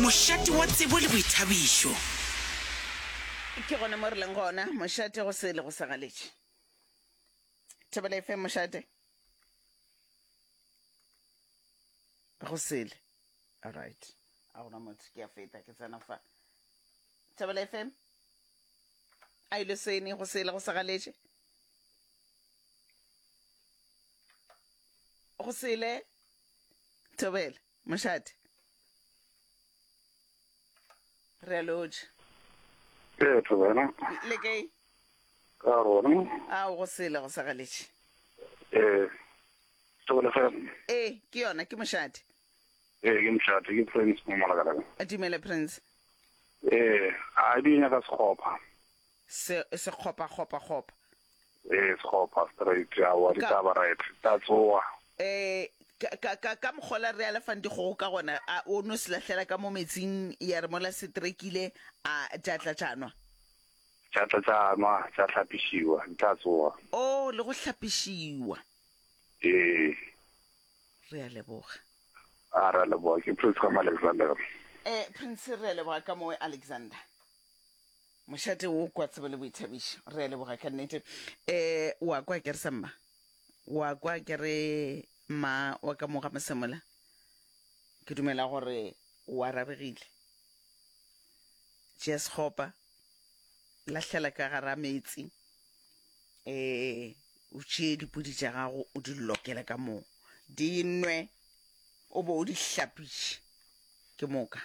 Mošate wa tsebo le boithabišo. Ke gona mo re leng gona, mošate go sele go sa galetše. Thobela FM mošate. Go sele. All right. A gona motho ke a feta ke tsena fa. Thobela FM. A ile sene go sele go sa galetše. Go sele. Thobela mošate. Re a lotšha. Ee, Thobela. Le kae? Ka rona. Ao go sele go sa galetše. Ee. Thobela FM. Ee, ke yona ke mošate. Ee, ke mošate, ke Prince mo Malakalaka. Dumela Prince. Ee, a di nyaka sekgopha. Se sekgopa kgopa kgopa. Ee, sekgopha straight, aowa ditaba right, tla tsoga. Ee, ka ka ka ka mokgola re alafang dikgogo ka gona, a o no se lahlela ka mo metsing ya re mola se trekile a tša tla tša nwa. Tša tla tša nwa, tša hlapišiwa, di tla tsoga. Oh, le go hlapišiwa. Ee. Re a leboga. A re a leboga, ke Prince ka mo Alexander. Eh, Prince re a leboga ka mo Alexander. Mošate wo kwa tsebo le boithabišo. Re a leboga ka nnete. Eh, wa kwa ke re sa mma. Wa kwa ke re mma wa ka mo ga Masemola. Ke dumela gore o arabegile. Tšea sekgopa, lahlela ka gara meetse. Eh, o tšee dipudi tša gago o di lokele ka moo. Di nwe, o bo o di hlapiše. Ke moka.